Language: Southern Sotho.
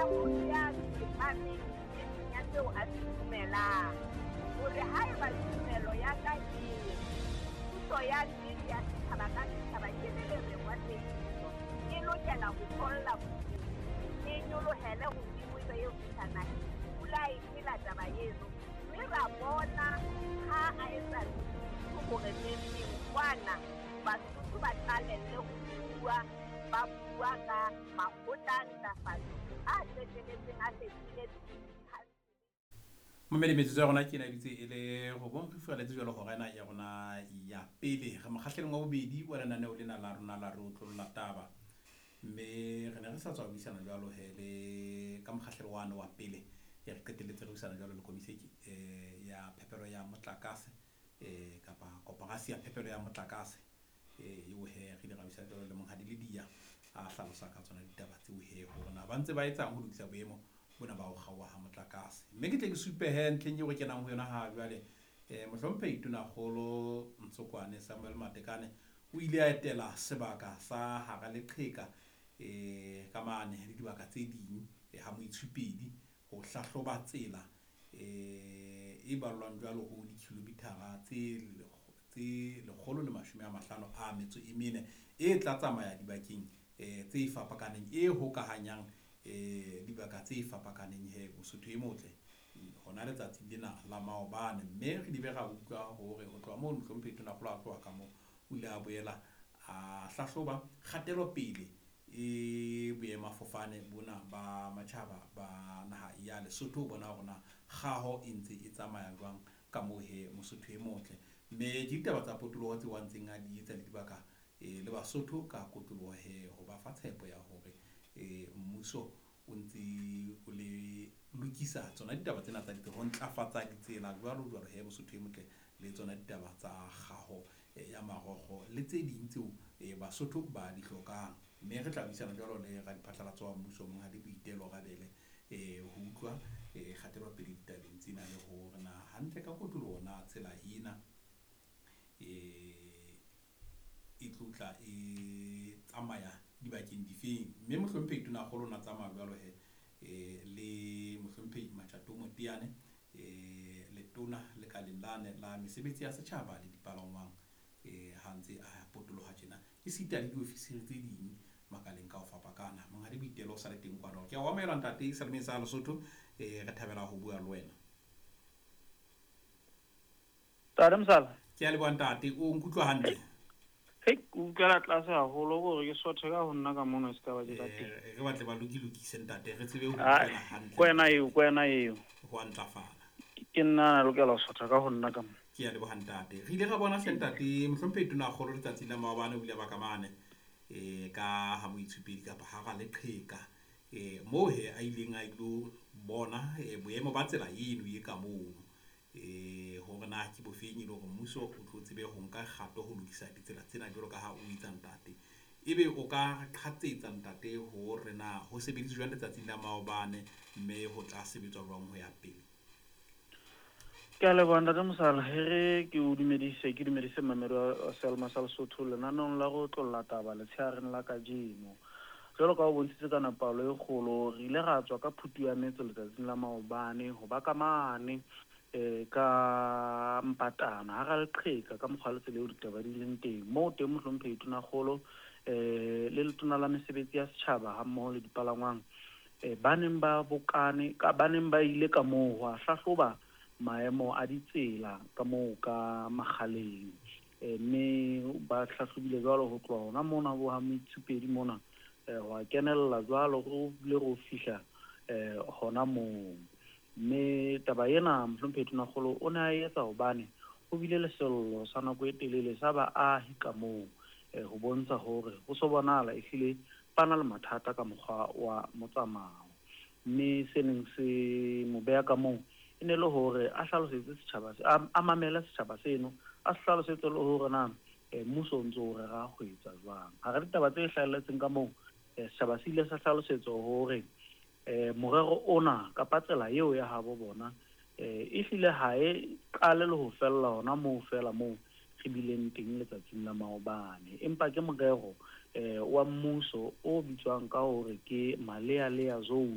motho ya tsepameng nneteng ya seo a se dumelang, hore haeba tumelo ya ka e re, Puso ya nnete ya setjhaba ka setjhaba ke molereng wa tshediso, e lokela ho tholla bophelong, e nyolohele hodimo e be e fihla naheng, pula e phela taba eno, mme ra bona ha a etsa Lesotho hore neng-neng kwana Basotho ba qalelle ho bua, ba bua ka makgotla a ntlafatso a qeteletseng a fetohile dikhansele. Mamedi, metsotso ya rona ke ena e dutse e le robong, re furaletse jwalo hora ena ya rona ya pele. Re mokgahlelong wa bobedi wa lenaneo lena la rona la Re Otlolla Taba, mme re ne re sa tswa buisana jwalo he le ka mokgahlelo wane wa pele. E re qetelletse re buisana jwalo le komiseki ya phepelo ya motlakase, kapa koporasi ya phepelo ya motlakase, eo he re ile ra buisana jwalo le Monghadi Lydia, a hlalosa ka tsona ditaba tseo he hore na ba ntse ba etsang ho lokisa boemo bona ba ho kgaoha ha motlakase. Mme ke tle ke supe he ntlheng eo re kenang ho yona ha jwale, Mohlomphehi Tonakgolo Ntsokwane Samuel Matekane o ile a etela sebaka sa hara leqheka, ka mane le dibaka tse ding, ha Moitshupedi ho hlahloba tsela, e ballwang jwalo ho dikilomithara tse 154 e tla tsamaya dibakeng, tse fapakaneng, e hokahanyang, dibaka tse fapakaneng he Mosotho e motle hona letsatsi lena la maobane. Mme re dibe ra utlwa hore ho tloha moo Mohlomphehi Tonakgolo a tloha ka moo, o ile a boela a hlahloba kgatelopele e boemafofane bona ba matjhaba ba naha ya Lesotho, ho bona hore na kgaho e ntse e tsamaya jwang ka moo he Mosotho e motle. Mme ke ditaba tsa potoloho tseo a ntseng a di etsa le dibaka, le Basotho ka kotloloho he, ho ba fa tshepo ya hore, mmuso o ntse o le lokisa tsona ditaba tsena tsa ho ntlafatsa ditsela jwalo jwalo he Mosotho e motle, le tsona ditaba tsa kgaho, ya marokgo le tse ding tseo, Basotho ba di hlokang. Mme re tla buisana jwalo le radiphatlalatso wa mmuso Monghadi Boitelo Rabele, ho utlwa, kgatelopele ditabeng tsena le hore na hantle ka kotloloho na tsela ena, e tlotla e tsamaya dibakeng difeng. Mme Mohlomphehi Tonakgolo o na tsamaya jwalo he, le Mohlomphehi Matjato Moteane, letona lekaleng lane la mesebetsi ya setjhaba le dipalangwang, ha ntse a potoloha tjena, esita le diofisiri tse ding makaleng ka ho fapakana. Monghadi Boitelo o sa le teng kwano. Ke a o amohela ntate Salemeng sa Lesotho, re thabela ho bua le wena. Ntate Mosala. Ke a leboha ntate, o nkutlwa hantle? Hei, ke utlwela tlase haholo hore ke sothe ka ho nna ka mono e se ka ba ke ka teng. Re batle ba lokilokise ntate, re tsebe ho Ai, utlwela hantle. Kwena eo, kwena eo. Ho a ntlafala. Ke nna a lokela ho sotha ka ho nna ka mo. Ke a leboha ntate. Re ile ra bona hle ntate Mohlomphehi Tonakgolo letsatsing la maobane o ile ba ka mane, ka ha Moitshupedi kapa ha ra leqheka, moo he a ileng a ilo bona, boemo ba tsela eno e ka mono, hore na ke bofeng e le hore mmuso o tlo tsebe ho nka kgato ho lokisa ditsela tsena jwalo ka ha o etsa ntate. Ebe o ka qhatsetsa ntate hore na ho sebediswa jwang letsatsing la maobane, mme ho tla sebetswa jwang ho ya pele? Ke a leboha ntate Mosala, he re ke o dumedise, ke dumedise mmamedi wa Selma sa Lesotho lenaneong la go otlolla taba letsheareng la kajeno. Jwalo ka o bontshitse ka nepahalo e kgolo, re ile ra tswa ka phutu ya metso letsatsing la maobane ho ba ka mane, ka Mpatana hara leqheka ka mokgwa le tsela eo ditaba di leng teng. Moo teng Mohlomphehi Tonakgolo, le letona la mesebetsi ya setjhaba ha mmoho le dipalangwang, ba neng ba bokane, ka, ba neng ba ile ka moo ho a hlahloba maemo a ditsela ka moo ka Makgaleng. Mme ba hlahlobile jwalo ho tloha hona mona bo ha Moitshupedi mona, ho a kenella jwalo ro bile ro fihla, hona moo. Mme taba ena Mohlomphehi Tonakgolo o ne a etsa hobane ho bile le sello sa nako e telele sa baahi ka moo, ho bontsha hore ho so bonahala ehlile ba na le mathata ka mokgwa wa motsamao. Mme se neng se mo beha ka moo e ne le hore a hlalosetse setjhaba se, a mamele setjhaba seno, a se hlalosetse le hore na, mmuso o ntso o rera ho etsa jwang. Hara ditaba tse hlahelletseng ka moo, setjhaba se ile sa hlalosetswa hore, morero ona kapa tsela eo ya habo bona, ehlile ha e qale le ho fella hona moo fela moo re bileng teng letsatsing la maobane, empa ke morero, wa mmuso o bitswang ka hore ke Malealea Zone.